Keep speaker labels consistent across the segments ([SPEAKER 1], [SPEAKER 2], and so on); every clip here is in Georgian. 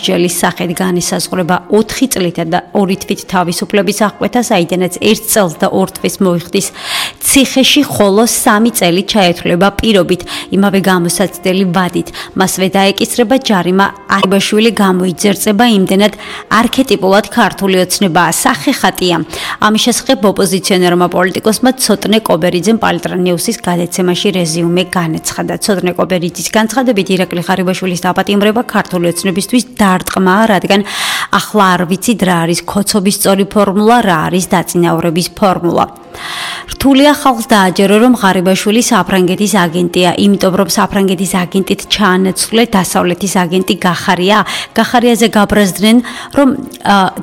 [SPEAKER 1] ჯელის სახით განისაზღვრება 4 წლით და 2 თვით თავისუფლების აღკვეთა, საიდანაც 1 წელს და 2 თვის მოიხდის ციხეში, ხოლო 3 წელი ჩაეთვლება პირობით, იმავე გამოსაცდელი ვადით. მასვე დაეკისრება ჯარიმა. არიბაშვილი გამოიძერწება იმდენად არქეტიპულად ქართული ოცნებაა, სახეხატია. ამის შესახებ ოპოზიციონერმა პოლიტიკოსმა ცოტნე კობერიძემ პალტრანიუსის გადაცემაში რეზიუმე განაცხადა. ცოტნე კობერიძის განცხადებით, ირაკლი ღარიბაშვილის დაპატიმრება ქართული ოცნებისთვის დარტყმაა, რადგან ახლა არ ვიცით რა არის ქოცობის სწორი ფორმულა, რა არის დაწინაურების ფორმულა. რთულია ხალხს დააჯერო, რომ ღარიბაშვილი საფრანგეთის აგენტია, იმიტომ რომ საფრანგეთის აგენტით ჩაანაცვლე დასავლეთის აგენტი გახარია. გახარიაზე გაბრაზდნენ, რომ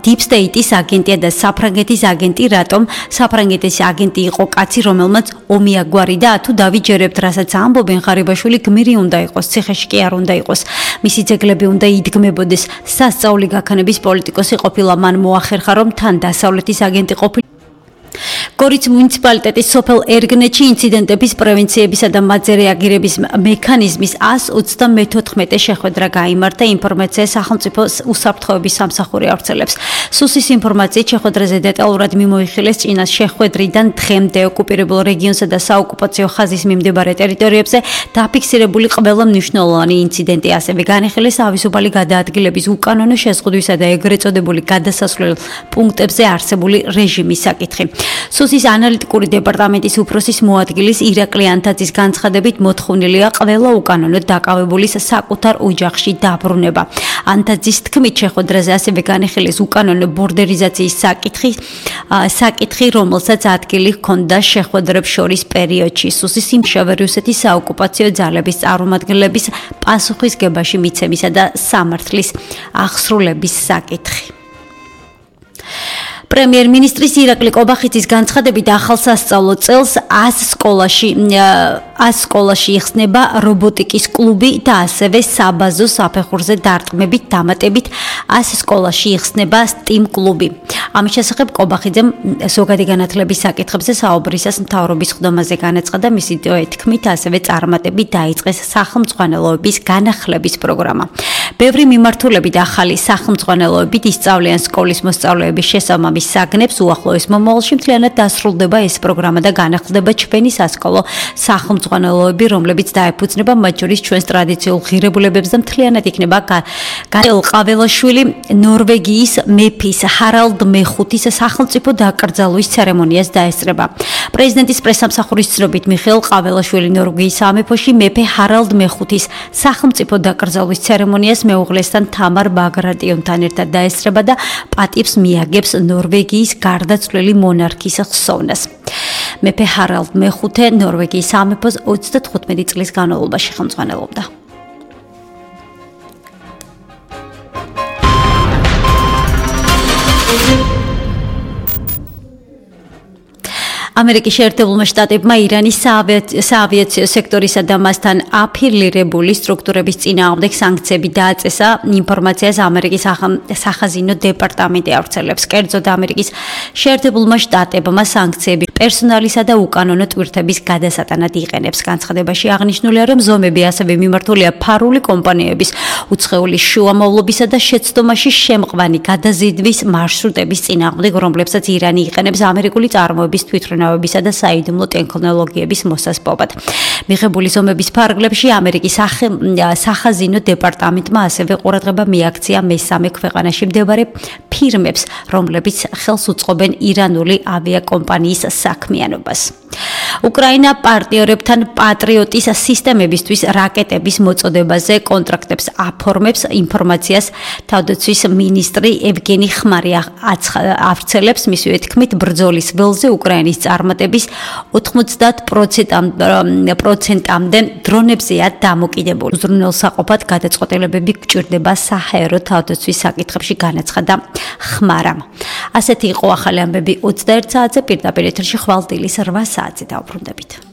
[SPEAKER 1] Deep State-ის აგენტია და საფრანგეთის აგენტი, რატომ საფრანგეთის აგენტი იყო კაცი, რომელმაც ომი აგვარიდა, თუ დავიჯერებთ, რასაც ამბობენ, ღარიბაშვილი გმირი უნდა იყოს, ციხეში კი არ უნდა იყოს. მისი ძეგლები უნდა იდგმებოდეს. სასწაული გაქანების პოლიტიკოსი ყოფილა, მან მოახერხა, რომ თან დასავლეთის აგენტი ყოფილა. გორის მუნიციპალიტეტის სოფელ ერგნეთში ინციდენტების პრევენციებისა და მათზე რეაგირების მექანიზმის 134 შეხვედრა გაიმართა. ინფორმაცია სახელმწიფო უსაფრთხოების სამსახური ავრცელებს. სუსის ინფორმაციით შეხვედრაზე დეტალურად მიმოიხილეს წინას შეხვედრიდან დღემდე ოკუპირებულ რეგიონსა და საოკუპაციო ხაზის მიმდებარე ტერიტორიებზე დაფიქსირებული ყველა მნიშვნელოვანი ინციდენტი, ასევე განიხილეს თავისუფალი გადაადგილების უკანონო შეზღუდვისა და ეგრეთ წოდებული გადასასვლელ პუნქტებზე არსებული რეჟიმის საკითხი. სუსის ანალიტიკური დეპარტამენტის უფროსის მოადგილის ირაკლი ანთაძის განცხადებით, მოთხოვნილია ყველა უკანონოდ დაკავებულის საკუთარ ოჯახში დაბრუნება. ანთაძის თქმით, შეხვედრაზე ასევე განიხილეს უკანონო ბორდერიზაციის საკითხი, რომელსაც ადგილი ჰქონდა შეხვედრებს შორის პერიოდში. სუსის იმშავე რუსეთის საოკუპაციო ძალების წარმომადგენლების პასუხისგებაში მიცემისა და სამართლის აღსრულების საკითხი. პრემიერ-მინისტრის ირაკლი კობახიძის განცხადებით, ახალ სასწავლო წელს 100 სკოლაში იხსნება რობოტიკის კლუბი და ასევე საბაზო საფეხურზე დარტყმებით დამატებით 100 სკოლაში იხსნება STEAM კლუბი. ამის შესახებ კობახიძემ ზოგადი განათლების საკითხებზე საუბრისას მთავრობის ხდომაზე განაცხადა, მისი თქმით, ასევე წარმატებით დაიწყეს სახელმძღვანელოების განახლების პროგრამა. ბევრი მიმართულებით ახალი სახელმძღვანელოებით ისწავლიან სკოლის მოსწავლეების შესაბამის საგნებს. უახლოეს მომავალში მთლიანად დასრულდება ეს პროგრამა და განახლდება ჩვენი სასკოლო სახელმძღვანელოები, რომლებიც დაეფუძნება მათ შორის ჩვენს ტრადიციულ ღირებულებებს და მთლიანად იქნება ყაველაშვილი ნორვეგიის მეფის ჰარალდ მეხუთის სახელმწიფო დაკრძალვის ცერემონიას დაესწრება. პრეზიდენტის პრესსამსახურის ცნობით, მიხეილ ყაველაშვილი ნორვეგიის სამეფოში მეფე ჰარალდ მეხუთის სახელმწიფო დაკრძალვის ცერემონიას მეუღლესთან თამარ ბაგრატიონთან ერთად დაესწრება და პატივს მიაგებს ნორვეგიის გარდაცვლილი მონარქის ხსოვნას. მეფე ჰარალდ მეხუთე ნორვეგიის სამეფოს 35 წლის განმავლობაში ხელმძღვანელობდა. ამერიკის შეერთებულმა შტატებმა ირანის საავიაციო სექტორისა და მასთან აფილირებული სტრუქტურების წინააღმდეგ სანქციები დააწესა. ინფორმაციას ამერიკის სახაზინო დეპარტამენტი ავრცელებს. კერძოდ, ამერიკის შეერთებულმა შტატებმა სანქციები პერსონალისა და უკანონო ტვირთების გადასატანად იყენებს. განცხადებაში აღნიშნულია, რომ ზომები ასევე მიმართულია ფარული კომპანიების უცხოელი შუამავლობისა და შეცდომაში შემყვანი გადაზიდვის მარშრუტების წინააღმდეგ, რომლებსაც ირანი იყენებს ამერიკული წარმოების თვითმფრინავებისა და საიდუმლო ტექნოლოგიების მოსასპობად. მიღებული ზომების ფარგლებში ამერიკის სახაზინო დეპარტამენტმა ასევე ყურადღება მიაქცია მესამე ქვეყანაში მდებარე ფირმებს, რომლებიც ხელს უწყობენ ირანული ავიაკომპანიის საქმიანობას. უკრაინა პარტნიორებთან პატრიოტის სისტემებისთვის რაკეტების მოწოდებაზე კონტრაქტებს აფორმებს. ინფორმაციას თავდაცვის მინისტრი ევგენი ხმარი ავრცელებს. მისივე თქმით, ბრძოლის ველზე უკრაინის წარმატების 90%-მდე დრონებზეა დამოკიდებული. უზრუნველსაყოფად გადაწყვეტილებები გჭირდება საჰაერო თავდაცვის საკითხებში, განაცხადა ხმარამ. ასეთი იყო ახალი ამბები 21 საათზე, პირდაპირ ეთერში ხვალ დილის 8 საათზე დავბრუნდებით.